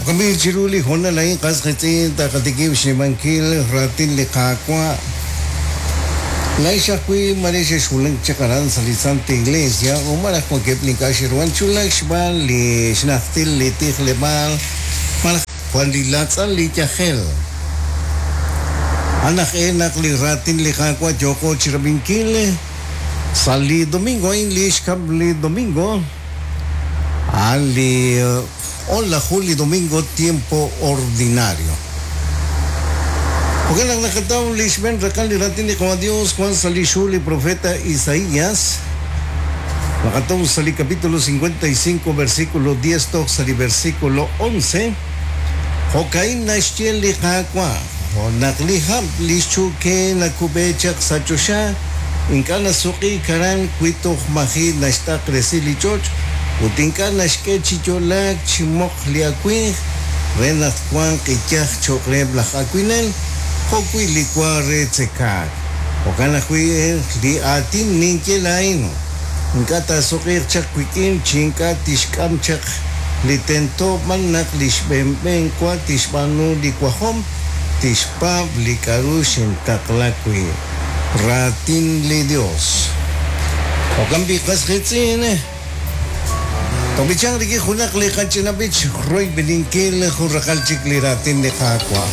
Jo'kan b'i' chiru li hoonal a'in qas qiitz'in taqatikib' xnimankil raatin li Qaawa'. Laa'ex ajwi' maare xexwulak chaq aran sa' li Santa Iglesia o malaj wankeb' li ink'a' xe'ruhan chi wulak xb'aan li xnajtil li tijleb'aal malaj jwal li laatz'al li yajel. A'an aj e naq li raatin li Qaawa' yooqo chirab'inkil sa' li domingo a'in li xkab' li domingo, a'an li o'laju li domingo tiempo ordinario. Jo'kan naq naqataw li xb'een raqal li raatin li Qawa' Dios wan sa' lix hu li profeta Isaías, naqataw sa' li capítulo 55 versículo 10 toj sa' li versículo 11, Jo'ka'in naxye li Qaawa', Jo' naq li hab' li xchu'ke nakub'e chaq sa' choxa, ink'a' nasuq'iik aran wi toj maji' naxt'aqresi li ch'och' ut ink'a' naxk'e chi yo'laak chi moq li awimq re naq twanq iyaj cho'q reheb' laj awinel jo'wi' li wa re tzekaak. Jo'kan ajwi' li aatin ninye laa'in, ink'a' taasuq'iiq chaq wik'in chi ink'a' tixk'am chaq li tento b'an naq li xb'een b'een wa tixb'aanu li wajom, tixpaab' li k'a'ru xintaqla wi'. Raatin li Dios. Jo'kan b'i' qas qiitz'in, tob'ichanq rik'in junaq li qach'ina b'ich royb'eninkil jun raqal chik li raatin li Qaawa'.